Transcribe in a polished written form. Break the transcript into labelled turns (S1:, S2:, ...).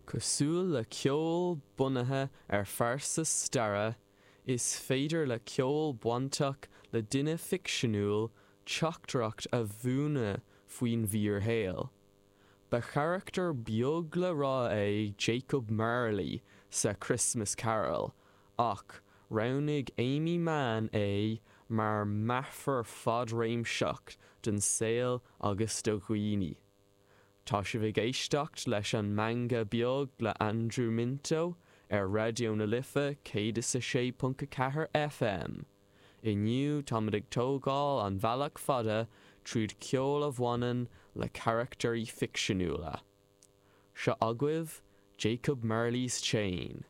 S1: Cosúil le ceol bunaithe ar phearsa staire, is féidir le ceol bainteach le duine ficseanúil teachtaireacht a mhúineadh faoin bhfíorshaol. Ba charachtar beag le rá é Jacob Marley sa Christmas Carol, ach roghnaigh Aimee Mann é mar mheafar fadréimseach don saol agus do dhaoine. Tá sibh ag éisteacht leis an Meangadh Beag le Aindriú Minto ar Raidió na Life 106.4 FM. Inniu táimid ag tógáil an bhealach fada tríd ceol a bhaineann le carachtairí ficseanúla. Seo agaibh Jacob Marley's Chain.